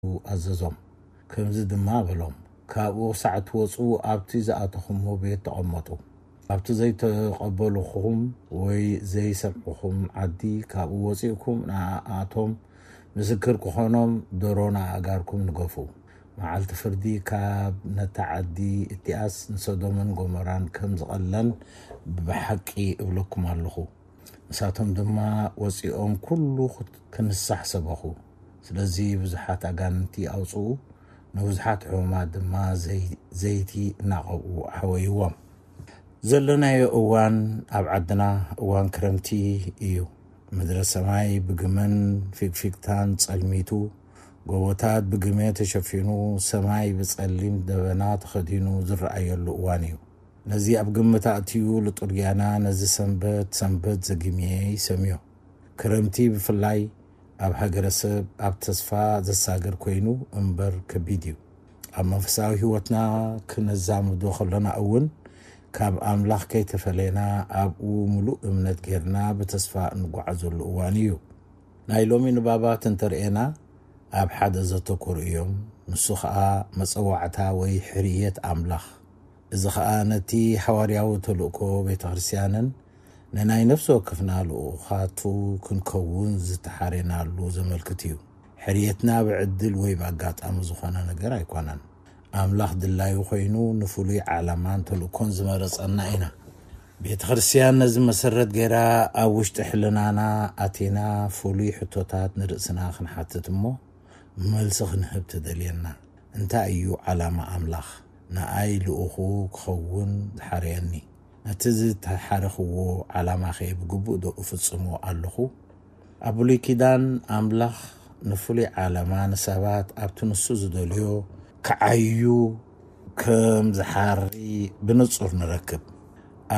ኣዘዞም። ከምዚ ድማ በሎም፣ ካብኡ ክሳዕ ትወጹ ኣብቲ ዝኣተኹሞ ቤት ተቐመጡ። ኣብቲ ዘይተቐበልኹም ወይ ዘይሰምዕኹም ዓዲ ካብኡ ወጺእኩም ንኣኣቶም ምስክር ክኾኖም ደሮ ንኣእጋርኩም ንገፉ። መዓልቲ ፍርዲ ካብ ነታ ዓዲ እቲኣስ ንሰዶምን ጎሞራን ከም ዝቐለን ብሓቂ እብለኩም ኣለኹ። ንሳቶም ድማ ወጺኦም ኩሉ ክንሳሕ ሰበኹ። ስለዚ ብዙሓት ኣጋንንቲ ኣውጽኡ፣ ንብዙሓት ሕሙማት ድማ ዘይ-፣ ዘይቲ እናቐብኡ ኣሕወይዎም። ዘለናዮ እዋን ኣብ ዓድና እዋን ክረምቲ እዩ። ምድረ ሰማይ ብግመን ፊግፊግታን ጸልሚቱ፣ ጎቦታት ብግመ ተሸፊኑ፣ ሰማይ ብጸሊም ደበና ተኸዲኑ ዝረኣየሉ እዋን እዩ። ነዚ ኣብ ግምት ኣእትዩ ልጡርጊያና ነዚ ሰንበት ሰንበት ዘጊምየ ይሰምዮ። ክረምቲ ብፍላይ ኣብ ሃገረሰብ ኣብ ተስፋ ዘሳግር ኮይኑ እምበር ከቢድ እዩ። ኣብ መንፈሳዊ ህይወትና ክነዛምዶ ከሎና እውን ካብ ኣምላኽ ከይተፈለየና ኣብኡ ምሉእ እምነት ጌርና ብተስፋ እንጓዓዘሉ እዋን እዩ። ናይ ሎሚ ንባባት እንተርእየና ኣብ ሓደ ዘተኮሩ እዮም። ንሱ ኸኣ መጸዋዕታ ወይ ሕርየት ኣምላኽ። እዚ ኸኣ ነቲ ሓዋርያዊ ተልእኮ ቤተ ክርስቲያንን ንናይ ነፍሲ ወከፍና ልኡኻቱ ክንከውን ዝተሓሬናሉ ዘመልክት እዩ። ሕርየትና ብዕድል ወይ ብኣጋጣሚ ዝኾነ ነገር ኣይኮነን። ኣምላኽ ድላዩ ኮይኑ ንፍሉይ ዓላማን ተልእኮን ዝመረጸና ኢና። ቤተ ክርስቲያን ነዚ መሰረት ገይራ ኣብ ውሽጢ ሕልናና ኣቲና ፍሉይ ሕቶታት ንርእስና ክንሓትት እሞ መልሲ ክንህብ ትደልየና። እንታይ እዩ ዓላማ ኣምላኽ? ንኣይ ልኡኹ ክኸውን ዝሓረየኒ። ነቲ ዝተሓረኽዎ ዓላማኸ ብግቡእ ዶ እፍጽሞ ኣለኹ? ኣብ ብሉይ ኪዳን ኣምላኽ ንፍሉይ ዓላማ ንሰባት ኣብቲ ንሱ ዝደልዮ ክዓዩ ከም ዝሓሪ ብንጹር ንረክብ።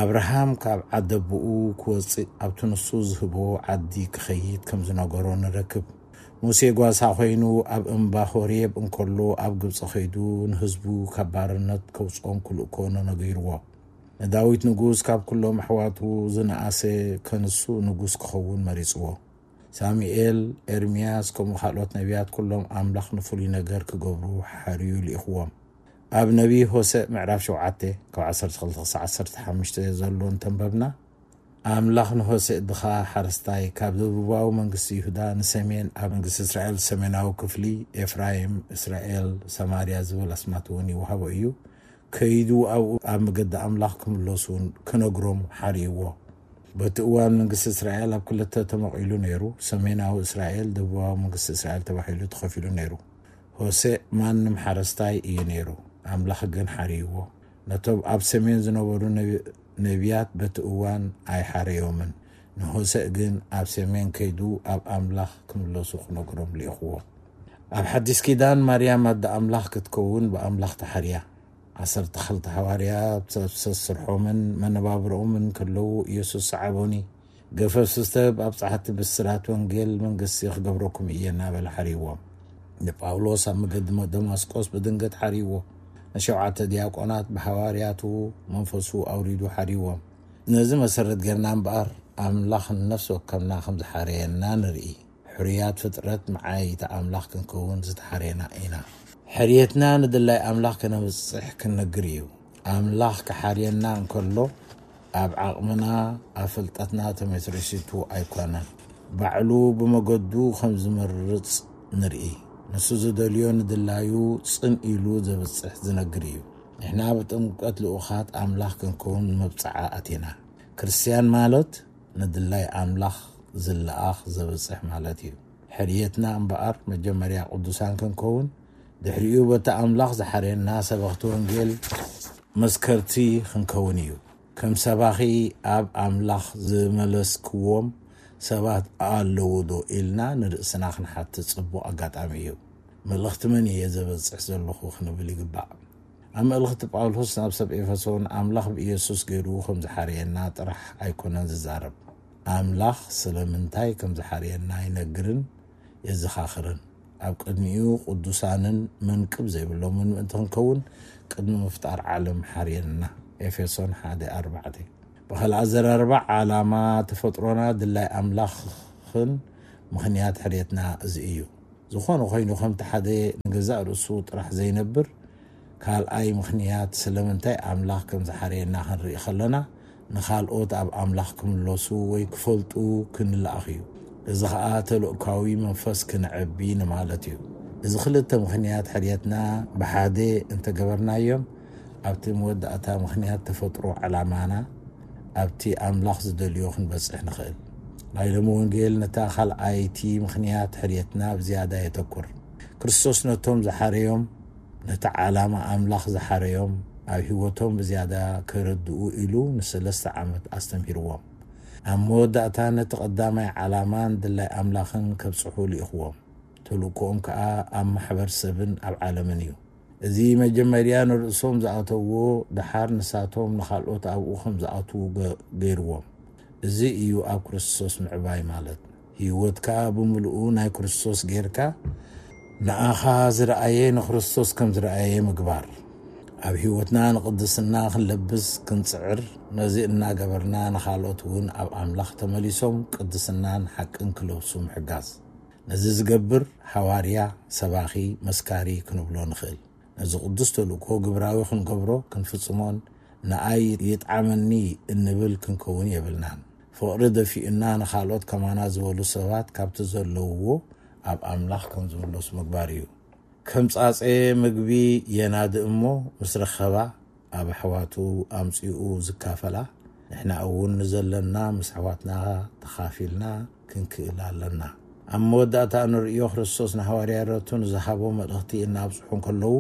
ኣብርሃም ካብ ዓደቦኡ ክወጽእ ኣብቲ ንሱ ዝህቦ ዓዲ ክኸይድ ከም ዝነገሮ ንረክብ። ሙሴ ጓሳ ኮይኑ ኣብ እምባ ሆሬብ እንከሎ ኣብ ግብጺ ከይዱ ንህዝቡ ካብ ባርነት ከውጽኦም ክልእኮ ነነገርዎ። ንዳዊት ንጉስ ካብ ኩሎም ኣሕዋቱ ዝነኣሰ ከንሱ ንጉስ ክኸውን መሪጽዎ። ሳሙኤል፣ ኤርምያስ፣ ከምኡ ካልኦት ነቢያት ኩሎም ኣምላኽ ንፍሉይ ነገር ክገብሩ ሓርዩ ልኢኽዎም። ኣብ ነቢ ሆሴእ ምዕራፍ ሸውዓተ ካብ ዓሰርተ ክልተ ክሳዕ ዓሰርተ ሓሙሽተ ዘሎ እንተንበብና፣ ኣምላኽ ንሆሴእ ድኻ ሓረስታይ ካብ ደቡባዊ መንግስቲ ይሁዳ ንሰሜን ኣብ መንግስቲ እስራኤል ሰሜናዊ ክፍሊ ኤፍራይም፣ እስራኤል፣ ሰማርያ ዝብል ኣስማት እውን ይወሃቦ እዩ። ከይዱ ኣብኡ ኣብ መገዲ ኣምላኽ ክምለሱ ክነግሮም ሓርይዎ። በቲ እዋን መንግስቲ እስራኤል ኣብ ክልተ ተመቒሉ ነይሩ። ሰሜናዊ እስራኤል፣ ደቡባዊ መንግስቲ እስራኤል ተባሂሉ ተኸፊሉ ነይሩ። ሆሴእ ማንም ሓረስታይ እዩ ነይሩ። ኣምላኽ ግን ሓርይዎ። ነቶም ኣብ ሰሜን ዝነበሩ ነቢ-፣ ነቢያት በቲ እዋን ኣይሓረዮምን። ንሆሴእ ግን ኣብ ሰሜን ከይዱ ኣብ ኣምላኽ ክምለሱ ክነግሮም ልኢኽዎ። ኣብ ሓዲስ ኪዳን ማርያም ኣደ ኣምላኽ ክትከውን ብኣምላኽ ተሓርያ። ዓሰርተ ክልተ ሓዋርያት ኣብ ሰስርሖምን መነባብሮኦምን ከለዉ ኢየሱስ ሰዓቦኒ፣ ገፈፍ ስተ ብኣብጻሕቲ ብስራት ወንጌል መንግስቲ ክገብረኩም እየ እናበለ ሓርይዎም። ንጳውሎስ ኣብ መገዲ ደማስቆስ ብድንገት ሓርይዎ። ንሸውዓተ ዲያቆናት ብሓዋርያቱ መንፈሱ ኣውሪዱ ሓርይዎም። ነዚ መሰረት ጌርና እምበኣር ኣምላኽ ንነፍሲ ወከፍና ከም ዝሓረየና ንርኢ። ሕሩያት ፍጥረት መዓይይቲ ኣምላኽ ክንከውን ዝተሓረየና ኢና። ሕርየትና ንድላይ ኣምላኽ ከነብጽሕ ክንነግር እዩ። ኣምላኽ ክሓርየና እንከሎ ኣብ ዓቕምና ኣብ ፍልጠትና ተመስሪቱ ኣይኮነን። ባዕሉ ብመገዱ ከም ዝመርጽ ንርኢ። ንሱ ዝደልዮ ንድላዩ ጽን ኢሉ ዘብጽሕ ዝነግር እዩ። ንሕና ብጥምቀት ልኡኻት ኣምላኽ ክንከውን መብጽዓ ኣቲና። ክርስትያን ማለት ንድላይ ኣምላኽ ዝለኣኽ ዘብጽሕ ማለት እዩ። ሕርየትና እምበኣር መጀመርያ ቅዱሳን ክንከውን፣ ድሕሪኡ በቲ ኣምላኽ ዝሓርየና ሰበኽቲ ወንጌል መስከርቲ ክንከውን እዩ። ከም ሰባኺ ኣብ ኣምላኽ ዝመለስክዎም ሰባት ኣለዉ ዶ ኢልና ንርእስና ክንሓትት ጽቡቕ ኣጋጣሚ እዩ። መልእኽቲ መን እየ ዘበጽሕ ዘለኹ ክንብል ይግባእ። ኣብ መልእኽቲ ጳውሎስ ናብ ሰብ ኤፌሶን ኣምላኽ ብኢየሱስ ገይሩ ከም ዝሓረየና ጥራሕ ኣይኮነን ዝዛረብ። ኣምላኽ ስለምንታይ ከም ዝሓረየና ይነግርን የዘኻኽርን። ኣብ ቅድሚኡ ቅዱሳንን መንቅብ ዘይብሎምን ምእንቲ ክንከውን ቅድሚ ምፍጣር ዓለም ሓርየና። ኤፌሶን ሓደ ኣርባዕተ። ብኻልእ ኣዘራርባ ዓላማ ተፈጥሮና ድላይ ኣምላኽን ምኽንያት ሕርየትና እዚ እዩ። ዝኾነ ኮይኑ ከምቲ ሓደ ንገዛእ ርእሱ ጥራሕ ዘይነብር ካልኣይ ምኽንያት ስለምንታይ ኣምላኽ ከም ዝሓረየና ክንርኢ ከለና ንኻልኦት ኣብ ኣምላኽ ክምለሱ ወይ ክፈልጡ ክንለኣኽ እዩ። እዚ ኸኣ ተልእኳዊ መንፈስ ክነዕቢ ንማለት እዩ። እዚ ክልተ ምኽንያት ሕርየትና ብሓደ እንተገበርናዮም ኣብቲ መወዳእታ ምኽንያት ተፈጥሮ ዕላማና ኣብቲ ኣምላኽ ዝደልዮ ክንበጽሕ ንኽእል። ናይ ሎሚ ወንጌል ነታ ካልኣይቲ ምኽንያት ሕርየትና ብዝያዳ የተኩር። ክርስቶስ ነቶም ዝሓረዮም ነቲ ዓላማ ኣምላኽ ዝሓረዮም ኣብ ህይወቶም ብዝያዳ ከረድኡ ኢሉ ንሰለስተ ዓመት ኣስተምሂርዎም። ኣብ መወዳእታ ነቲ ቀዳማይ ዓላማን ድላይ ኣምላኽን ከብጽሑ ልኢኽዎም። ተልእኮኦም ከኣ ኣብ ማሕበር ሰብን ኣብ ዓለምን እዩ። እዚ መጀመርያ ንርእሶም ዝኣተዎ ደሓር ንሳቶም ንኻልኦት ኣብኡ ከም ዝኣትዉ ገ- ገይርዎም። እዚ እዩ ኣብ ክርስቶስ ምዕባይ ማለት። ህይወትካ ብምልኡ ናይ ክርስቶስ ጌርካ ንኣኻ ዝረኣየ ንክርስቶስ ከም ዝረኣየ ምግባር። ኣብ ህይወትና ንቅድስና ክንለብስ ክንጽዕር፣ ነዚ እናገበርና ንኻልኦት እውን ኣብ ኣምላኽ ተመሊሶም ቅድስናን ሓቅን ክለብሱ ምሕጋዝ። ነዚ ዝገብር ሓዋርያ፣ ሰባኺ፣ መስካሪ ክንብሎ ንኽእል። ነዚ ቅዱስ ተልእኮ ግብራዊ ክንገብሮ ክንፍጽሞን ንኣይ ይጥዓመኒ እንብል ክንከውን የብልናን። ፍቕሪ ደፊኡና ንኻልኦት ከማና ዝበሉ ሰባት ካብቲ ዘለውዎ ኣብ ኣምላኽ ከም ዝምለሱ ምግባር እዩ። ከም ጻጸ ምግቢ የናዲ እሞ ምስ ረኸባ ኣብ ኣሕዋቱ ኣምጺኡ ዝካፈላ፣ ንሕና እውን ንዘለና ምስ ኣሕዋትና ተኻፊልና ክንክእል ኣለና። ኣብ መወዳእታ እንርእዮ ክርስቶስ ንሃዋርያቱ ንዝሃቦ መልእኽቲ እናብጽሑ እንከለዉ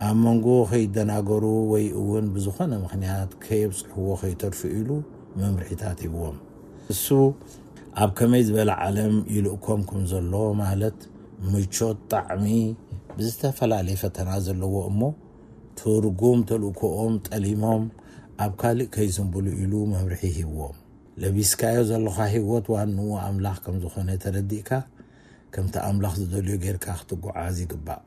ኣብ መንጎ ከይደናገሩ ወይ እውን ብዝኾነ ምኽንያት ከየብጽሕዎ ከይተርፉ ኢሉ መምርሒታት ሂብዎም። እሱ ኣብ ከመይ ዝበለ ዓለም ይልእኮም ከም ዘሎ ማለት ምቾት ጣዕሚ ብዝተፈላለየ ፈተና ዘለዎ እሞ ትርጉም ተልእኮኦም ጠሊሞም ኣብ ካልእ ከይዝንብሉ ኢሉ መምርሒ ሂብዎም። ለቢስካዮ ዘለኻ ህይወት ዋንኡ ኣምላኽ ከም ዝኾነ ተረዲእካ ከምቲ ኣምላኽ ዝደልዮ ጌርካ ክትጓዓዝ ይግባእ።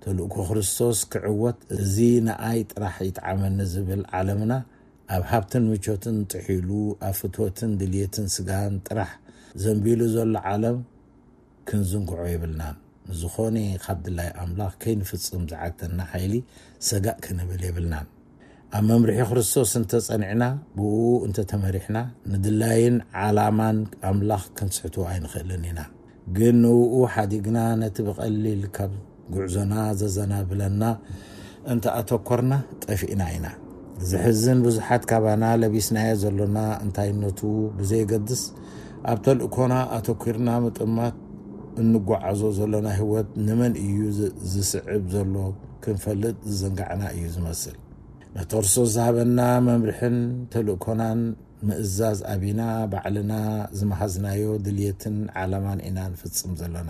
ተልእኮ ክርስቶስ ክዕወት እዚ ንኣይ ጥራሕ ይጥዓመኒ ዝብል ዓለምና ኣብ ሃብትን ምቾትን ጥሒሉ ኣብ ፍትወትን ድልየትን ስጋን ጥራሕ ዘንቢሉ ዘሎ ዓለም ክንዝንግዖ የብልናን። ንዝኾነ ካብ ድላይ ኣምላኽ ከይንፍጽም ዝዓግተና ሓይሊ ሰጋእ ክንብል የብልናን። ኣብ መምርሒ ክርስቶስ እንተጸኒዕና፣ ብእኡ እንተተመሪሕና፣ ንድላይን ዓላማን ኣምላኽ ክንስሕቶ ኣይንኽእልን ኢና። ግን ንእኡ ሓዲግና ነቲ ብቐሊል ካብ ጉዕዞና ዘዘናብለና እንተ ኣተኮርና ጠፊእና ኢና። ዝሕዝን ብዙሓት ካባና ለቢስናዮ ዘሎና እንታይነቱ ብዘየገድስ ኣብ ተልእኮና ኣተኲርና ምጥማት እንጓዓዞ ዘሎና ህይወት ንመን እዩ ዝ- ዝስዕብ ዘሎ ክንፈልጥ ዝዘንጋዕና እዩ ዝመስል። ነተርሶ ዝሃበና መምርሕን ተልእኮናን ምእዛዝ ኣቢና ባዕልና ዝመሃዝናዮ ድልየትን ዓላማን ኢና ንፍጽም ዘለና።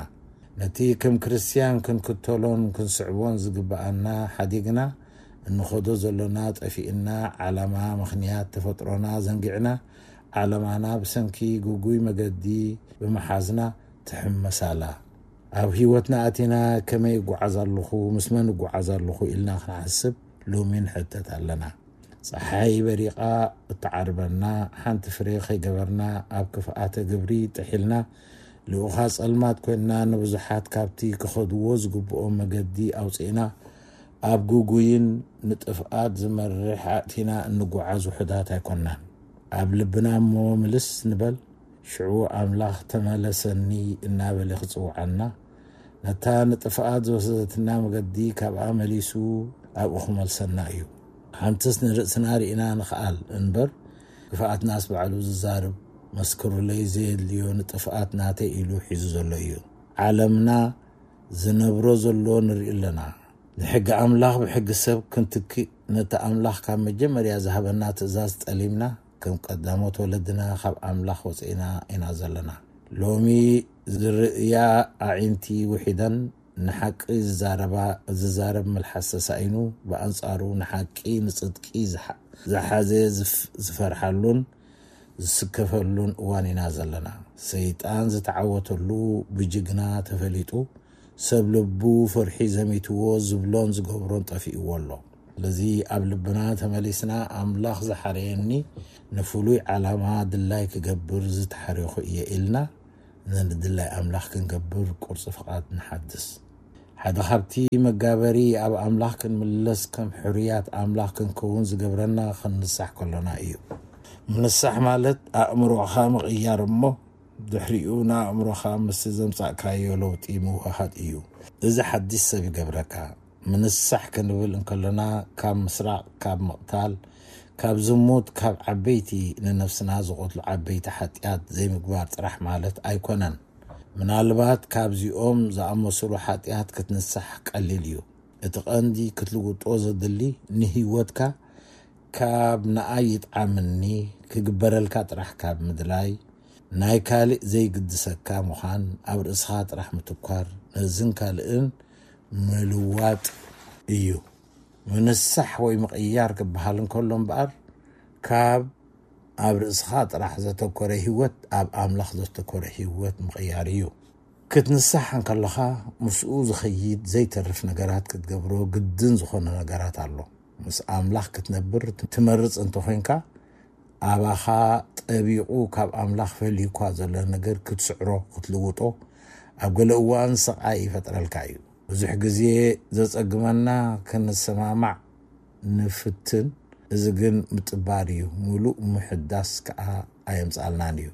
ነቲ ከም ክርስትያን ክንክተሎን ክንስዕቦን ዝግብኣና ሓዲግና እንኸዶ ዘሎና ጠፊእና ዓላማ ምኽንያት ተፈጥሮና ዘንጊዕና ዓላማና ብሰንኪ ግጉይ መገዲ ብምሓዝና ትሕመስ ኣላ። ኣብ ህይወትና ኣቲና ከመይ እጓዓዝ ኣለኹ፣ ምስ መን እጓዓዝ ኣለኹ ኢልና ክንሓስብ ሎሚ ንሕተት ኣለና። ጸሓይ በሪቓ እትዓርበና ሓንቲ ፍሬ ከይገበርና ኣብ ክፍኣተ ግብሪ ጥሒልና ልኡኻ ጸልማት ኮይንና ንብዙሓት ካብቲ ክኸድዎ ዝግብኦም መገዲ ኣውጺእና ኣብ ግጉይን ንጥፍኣት ዝመርሕ ኣእቲና እንጓዓዝ ውሑዳት ኣይኮንናን። ኣብ ልብና እሞ ምልስ ንበል ሽዑ ኣምላኽ ተመለሰኒ እናበለ ክጽውዓና ነታ ንጥፍኣት ዝወሰደትና መገዲ ካብኣ መሊሱ ኣብኡ ክመልሰና እዩ። ሓንትስ ንርእስና ርኢና ንኽኣል እንበር ክፍኣትናስ ባዕሉ ዝዛርብ መስክሩለይ ዘየድልዮ ንጥፍኣት ናተይ ኢሉ ሒዙ ዘሎ እዩ። ዓለምና ዝነብሮ ዘሎ ንርኢ ኣለና። ንሕጊ ኣምላኽ ብሕጊ ሰብ ክንትክእ ነቲ ኣምላኽ ካብ መጀመርያ ዝሃበና ትእዛዝ ጠሊምና ከም ቀዳሞት ወለድና ካብ ኣምላኽ ወፂእና ኢና ዘለና። ሎሚ ዝርእያ ኣዒንቲ ውሒደን ንሓቂ ዝዛረባ ዝዛረብ መልሓስ ተሳኢኑ ብኣንፃሩ ንሓቂ ንፅድቂ ዝሓ- ዝሓዘ ዝፍ- ዝፈርሓሉን ዝስከፈሉን እዋን ኢና ዘለና። ሰይጣን ዝተዓወተሉ ብጅግና ተፈሊጡ ሰብ ልቡ ፍርሒ ዘሚትዎ ዝብሎን ዝገብሮን ጠፊእዎ ኣሎ። ስለዚ ኣብ ልብና ተመሊስና ኣምላኽ ዝሓረየኒ ንፍሉይ ዓላማ ድላይ ክገብር ዝተሓረኹ እየ ኢልና ንድላይ ኣምላኽ ክንገብር ቁርፂ ፍቓድ ንሓድስ። ሓደ ካብቲ መጋበሪ ኣብ ኣምላኽ ክንምለስ፣ ከም ሕሩያት ኣምላኽ ክንከውን ዝገብረና ክንንሳሕ ከሎና እዩ። ምንሳሕ ማለት ኣእምሮኻ ምቕያር እሞ ድሕሪኡ ንኣእምሮኻ ምስቲ ዘምጻእካዮ ለውጢ ምውህሃድ እዩ። እዚ ሓድሽ ሰብ ይገብረካ። ምንሳሕ ክንብል እንከለና ካብ ምስራቕ፣ ካብ ምቕታል፣ ካብ ዝሙት፣ ካብ ዓበይቲ ንነፍስና ዝቐትሉ ዓበይቲ ሓጢኣት ዘይምግባር ጥራሕ ማለት ኣይኮነን። ምናልባት ካብዚኦም ዝኣመሰሉ ሓጢኣት ክትንሳሕ ቀሊል እዩ። እቲ ቀንዲ ክትልውጦ ዘድሊ ንህይወትካ ካብ ንኣይ ይጥዓምኒ ክግበረልካ ጥራሕ ካብ ምድላይ፣ ናይ ካልእ ዘይግድሰካ ምዃን፣ ኣብ ርእስኻ ጥራሕ ምትኳር፣ ነዝን ካልእን ምልዋጥ እዩ። ምንሳሕ ወይ ምቕያር ክበሃል እንከሎ እምበኣር፣ ካብ ኣብ ርእስኻ ጥራሕ ዘተኮረ ህይወት ኣብ ኣምላኽ ዘተኮረ ህይወት ምቕያር እዩ። ክትንሳሕ እንከለኻ ምስኡ ዝኸይድ ዘይተርፍ ነገራት ክትገብሮ ግድን ዝኾነ ነገራት ኣሎ። ምስ ኣምላኽ ክትነብር ትመርጽ እንተኾይንካ፣ ኣባኻ ጠቢቑ ካብ ኣምላኽ ፈልዩ እኳ ዘሎ ነገር ክትስዕሮ፣ ክትልውጦ፣ ኣብ ገለ እዋን ስቓይ ይፈጥረልካ እዩ። ብዙሕ ግዜ ዘጸግመና ክንሰማማዕ ንፍትን፣ እዚ ግን ምጥባር እዩ፣ ምሉእ ምሕዳስ ከኣ ኣየምጻልናን እዩ።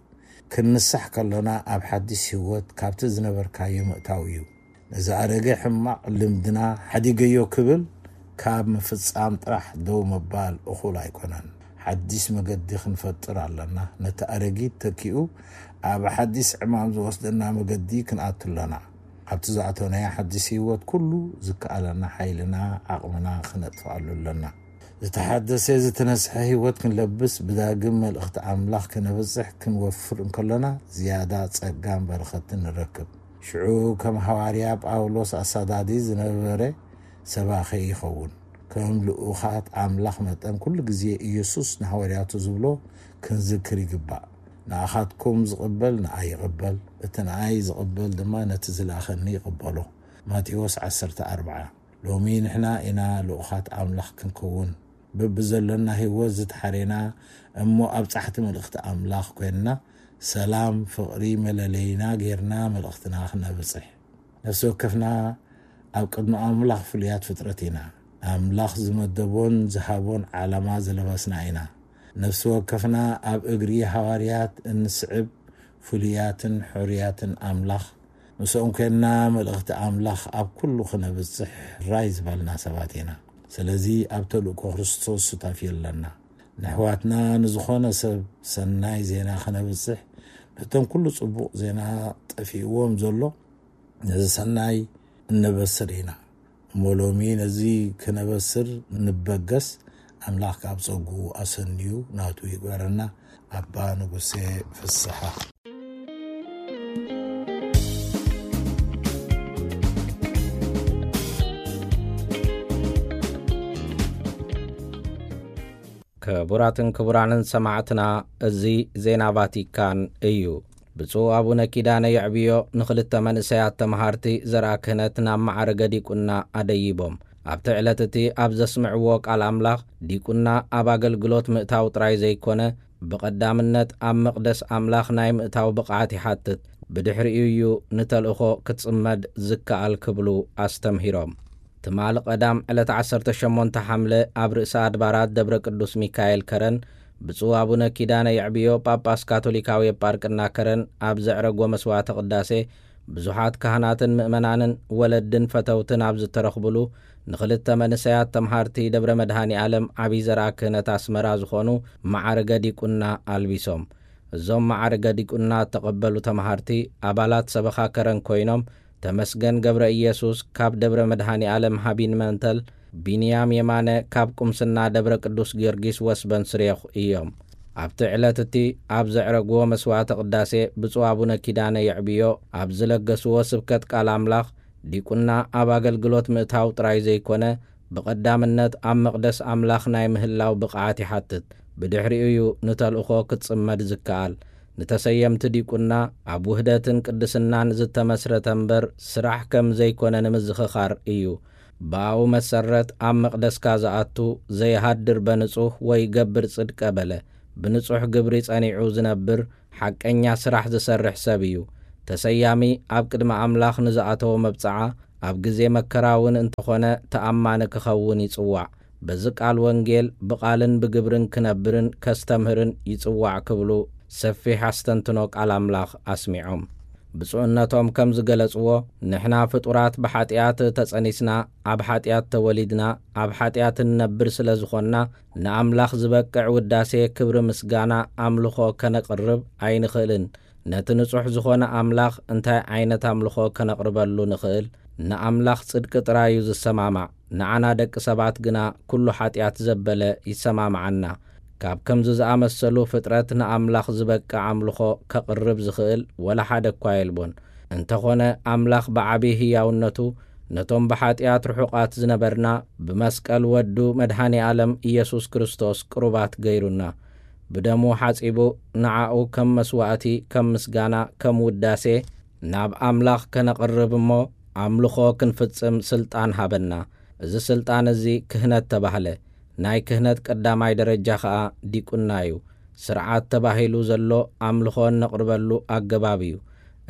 ክንንሳሕ ከሎና ኣብ ሓድሽ ህይወት ካብቲ ዝነበርካዮ ምእታው እዩ። ነዚ ኣረገ ሕማቕ ልምድና ሓዲገዮ ክብል ካብ ምፍጻም ጥራሕ ደው ምባል እኹል ኣይኮነን። ሓድሽ መገዲ ክንፈጥር ኣለና። ነቲ ኣረጊት ተኪኡ ኣብ ሓድሽ ዕማም ዝወስደና መገዲ ክንኣቱ ኣለና። ኣብቲ ዝኣተናዮ ሓድሽ ህይወት ኩሉ ዝከኣለና ሓይልና ዓቕምና ክነጥፍኣሉ ኣለና። ዝተሓደሰ ዝተነስሐ ህይወት ክንለብስ ብዳግም መልእኽቲ ኣምላኽ ክነብጽሕ ክንወፍር እንከሎና ዝያዳ ጸጋን በረኸትን ንረክብ። ሽዑ ከም ሃዋርያ ጳውሎስ ኣሳዳዲ ዝነበረ ሰባኺ ይኸውን። ከም ልኡኻት ኣምላኽ መጠን ኩሉ ግዜ ኢየሱስ ንሃዋርያቱ ዝብሎ ክንዝክር ይግባእ። ንኣኻትኩም ዝቕበል ንኣይ ይቕበል፣ እቲ ንኣይ ዝቕበል ድማ ነቲ ዝለኣኸኒ ይቕበሎ። ማቴዎስ ዓሰርተ ኣርባዓ። ሎሚ ንሕና ኢና ልኡኻት ኣምላኽ ክንከውን፣ በብዘለና ህይወት ዝተሓሬና እሞ ኣብጻሕቲ መልእኽቲ ኣምላኽ ኮይንና፣ ሰላም ፍቕሪ መለለይና ጌርና መልእኽትና ክነብጽሕ። ነፍሲ ወከፍና ኣብ ቅድሚ ኣምላኽ ፍሉያት ፍጥረት ኢና። ኣምላኽ ዝመደቦን ዝሃቦን ዓላማ ዝለበስና ኢና። ነፍሲ ወከፍና ኣብ እግሪ ሃዋርያት እንስዕብ ፍሉያትን ሕሩያትን ኣምላኽ፣ ምስኦም ኮይንና መልእኽቲ ኣምላኽ ኣብ ኩሉ ክነብጽሕ ራይ ዝበልና ሰባት ኢና። ስለዚ ኣብ ተልእኮ ክርስቶስ ሱታፊ ኣለና። ንኣሕዋትና ንዝኾነ ሰብ ሰናይ ዜና ክነብጽሕ፣ ነቶም ኩሉ ጽቡቕ ዜና ጠፊእዎም ዘሎ ነዚ ሰናይ እነበስር ኢና። እሞ ሎሚ ነዚ ክነበስር ንበገስ፣ ኣምላኽ ካብ ጸጉ ኣሰንዩ ናቱ ይግበረና። ኣባ ንጉሴ ፍስሓ። ክቡራትን ክቡራንን ሰማዕትና፣ እዚ ዜና ቫቲካን እዩ። ብፁዕ ኣቡነ ኪዳነ የዕብዮ ንኽልተ መንእሰያት ተመሃርቲ ዘርኣ ክህነት ናብ መዓርገ ዲቁና ኣደይቦም። ኣብቲ ዕለት እቲ ኣብ ዘስምዕዎ ቃል ኣምላኽ፣ ዲቁና ኣብ ኣገልግሎት ምእታው ጥራይ ዘይኮነ፣ ብቐዳምነት ኣብ መቕደስ ኣምላኽ ናይ ምእታው ብቕዓት ይሓትት። ብድሕሪኡ እዩ ንተልእኾ ክትጽመድ ዝከኣል ክብሉ ኣስተምሂሮም። ትማሊ ቀዳም ዕለት ዓሰርተ ሸሞንተ ሓምለ ኣብ ርእሰ ኣድባራት ደብረ ቅዱስ ሚካኤል ከረን ብፁዕ ኣቡነ ኪዳነ የዕብዮ ጳጳስ ካቶሊካዊ ኤጳርቅና ከረን ኣብ ዘዕረጎ መስዋዕተ ቅዳሴ ብዙሓት ካህናትን ምእመናንን ወለድን ፈተውትን ኣብ ዝተረኽብሉ ንኽልተ መንእሰያት ተምሃርቲ ደብረ መድሃኒ ዓለም ዓብዪ ዘርኣ ክህነት ኣስመራ ዝኾኑ መዓርገ ዲቁና ኣልቢሶም። እዞም መዓርገ ዲቁና እተቐበሉ ተምሃርቲ ኣባላት ሰበኻ ከረን ኮይኖም ተመስገን ገብረ ኢየሱስ ካብ ደብረ መድሃኒ ዓለም ሃቢን መንተል፣ ቢንያም የማነ ካብ ቁምስና ደብረ ቅዱስ ጊዮርጊስ ወስበን ስሬኹ እዮም። ኣብቲ ዕለት እቲ ኣብ ዘዕረግዎ መስዋዕተ ቅዳሴ ብፁዕ ኣቡነ ኪዳነ የዕብዮ ኣብ ዝለገስዎ ስብከት ቃል ኣምላኽ ዲቁና ኣብ ኣገልግሎት ምእታው ጥራይ ዘይኮነ ብቐዳምነት ኣብ መቕደስ ኣምላኽ ናይ ምህላው ብቕዓት ይሓትት። ብድሕሪኡ እዩ ንተልእኾ ክትጽመድ ዝከኣል። ንተሰየምቲ ዲቁና ኣብ ውህደትን ቅድስናን ዝተመስረተ እምበር ስራሕ ከም ዘይኮነ ንምዝኽኻር እዩ። ብኣኡ መሰረት ኣብ መቕደስካ ዝኣቱ ዘይሃድር በንጹህ ወይ ገብር ጽድቀ በለ ብንጹሕ ግብሪ ጸኒዑ ዝነብር ሓቀኛ ስራሕ ዝሰርሕ ሰብ እዩ። ተሰያሚ ኣብ ቅድሚ ኣምላኽ ንዝኣተወ መብጽዓ፣ ኣብ ግዜ መከራ እውን እንተኾነ ተኣማኒ ክኸውን ይጽዋዕ። በዚ ቃል ወንጌል ብቓልን ብግብርን ክነብርን ከስተምህርን ይጽዋዕ ክብሉ ሰፊሕ ኣስተንትኖ ቃል ኣምላኽ ኣስሚዖም። ብፁዕነቶም ከም ዝገለጽዎ፣ ንሕና ፍጡራት ብሓጢኣት ተጸኒስና፣ ኣብ ሓጢኣት ተወሊድና፣ ኣብ ሓጢኣት እንነብር ስለ ዝኾንና፣ ንኣምላኽ ዝበቅዕ ውዳሴ፣ ክብሪ፣ ምስጋና፣ ኣምልኾ ከነቕርብ ኣይንኽእልን። ነቲ ንጹሕ ዝኾነ ኣምላኽ እንታይ ዓይነት ኣምልኾ ከነቕርበሉ ንኽእል? ንኣምላኽ ጽድቂ ጥራይ እዩ ዝሰማማዕ። ንዓና ደቂ ሰባት ግና ኩሉ ሓጢኣት ዘበለ ይሰማምዓና። ካብ ከምዚ ዝኣመሰሉ ፍጥረት ንኣምላኽ ዝበቅዕ ኣምልኾ ከቕርብ ዝኽእል ወላ ሓደ እኳ የልቦን። እንተኾነ ኣምላኽ ብዓቢ ህያውነቱ ነቶም ብሓጢኣት ርሑቓት ዝነበርና ብመስቀል ወዱ መድኃኔ ዓለም ኢየሱስ ክርስቶስ ቅሩባት ገይሩና። ብደሙ ሓጺቡ ንዓኡ ከም መስዋእቲ፣ ከም ምስጋና፣ ከም ውዳሴ ናብ ኣምላኽ ከነቕርብ እሞ ኣምልኾ ክንፍጽም ስልጣን ሃበና። እዚ ስልጣን እዚ ክህነት ተባህለ። ናይ ክህነት ቀዳማይ ደረጃ ኸኣ ዲቁና እዩ። ስርዓት ተባሂሉ ዘሎ ኣምልኾ እነቕርበሉ ኣገባብ እዩ።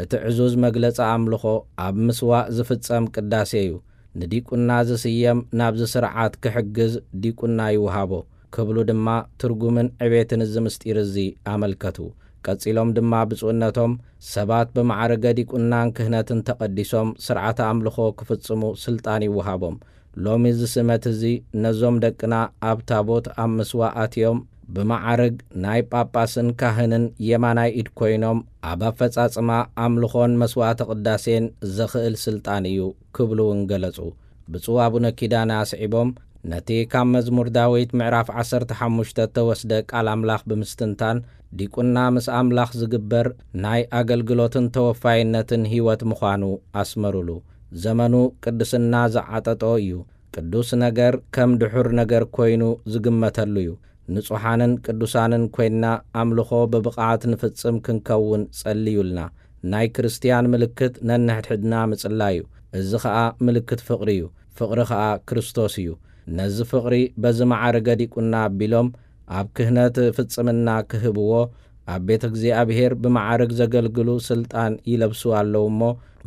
እቲ ዕዙዝ መግለጺ ኣምልኾ ኣብ ምስዋእ ዝፍጸም ቅዳሴ እዩ። ንዲቁና ዝስየም ናብዚ ስርዓት ክሕግዝ ዲቁና ይወሃቦ ክብሉ ድማ ትርጉምን ዕቤትን እዚ ምስጢር እዚ ኣመልከቱ። ቀጺሎም ድማ ብፁዕነቶም ሰባት ብማዕረገ ዲቁናን ክህነትን ተቐዲሶም ስርዓተ ኣምልኾ ክፍጽሙ ስልጣን ይወሃቦም። ሎሚ እዚ ስመት እዚ ነዞም ደቅና ኣብ ታቦት ኣብ ምስዋእ ኣትዮም ብመዓርግ ናይ ጳጳስን ካህንን የማናይ ኢድ ኮይኖም ኣብ ኣፈጻጽማ ኣምልኾን መስዋዕተ ቅዳሴን ዘኽእል ስልጣን እዩ ክብሉ እውን ገለጹ። ብፁዕ ኣቡነ ኪዳነ ኣስዒቦም ነቲ ካብ መዝሙር ዳዊት ምዕራፍ ዓሰርተ ሓሙሽተ እተወስደ ቃል ኣምላኽ ብምስትንታን ዲቁና ምስ ኣምላኽ ዝግበር ናይ ኣገልግሎትን ተወፋይነትን ህይወት ምዃኑ ኣስመሩሉ። ዘመኑ ቅድስና ዝዓጠጦ እዩ። ቅዱስ ነገር ከም ድሑር ነገር ኮይኑ ዝግመተሉ እዩ። ንጹሓንን ቅዱሳንን ኮይንና ኣምልኾ ብብቕዓት ንፍጽም ክንከውን ጸልዩልና። ናይ ክርስትያን ምልክት ነንሕድሕድና ምጽላይ እዩ። እዚ ኸኣ ምልክት ፍቕሪ እዩ። ፍቕሪ ኸኣ ክርስቶስ እዩ። ነዚ ፍቕሪ በዚ መዓርገ ዲቁና ኣቢሎም ኣብ ክህነት ፍጽምና ክህብዎ ኣብ ቤተ እግዚኣብሔር ብመዓርግ ዘገልግሉ ስልጣን ይለብሱ ኣለዉ እሞ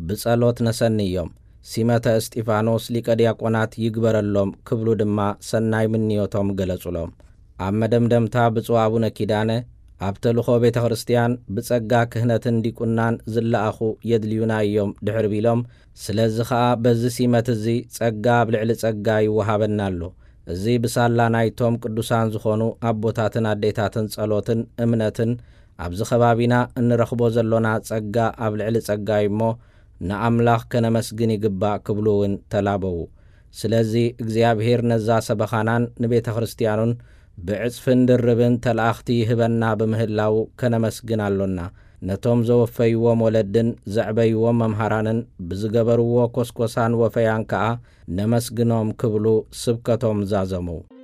ብጸሎት ነሰንዮም። ሲመተ እስጢፋኖስ ሊቀ ዲያቆናት ይግበረሎም ክብሉ ድማ ሰናይ ምንዮቶም ገለጹሎም። ኣብ መደምደምታ ብፁዕ ኣቡነ ኪዳነ ኣብ ተልእኾ ቤተ ክርስቲያን ብጸጋ ክህነትን ዲቁናን ዝለኣኹ የድልዩና እዮም ድሕር ቢሎም፣ ስለዚ ኸኣ በዚ ሲመት እዚ ጸጋ ኣብ ልዕሊ ጸጋ ይወሃበና ኣሎ። እዚ ብሳላ ናይቶም ቅዱሳን ዝኾኑ ኣቦታትን ኣዴታትን ጸሎትን እምነትን ኣብዚ ከባቢና እንረኽቦ ዘሎና ጸጋ ኣብ ልዕሊ ጸጋ እዩ እሞ ንኣምላኽ ከነመስግን ይግባእ ክብሉ እውን ተላበዉ። ስለዚ እግዚኣብሔር ነዛ ሰበኻናን ንቤተ ክርስቲያኑን ብዕጽፍን ድርብን ተላእኽቲ ይህበና ብምህላዉ ከነመስግን ኣሎና። ነቶም ዘወፈይዎም ወለድን ዘዕበይዎም መምሃራንን ብዝገበርዎ ኮስኮሳን ወፈያን ከኣ ነመስግኖም ክብሉ ስብከቶም ዛዘሙ።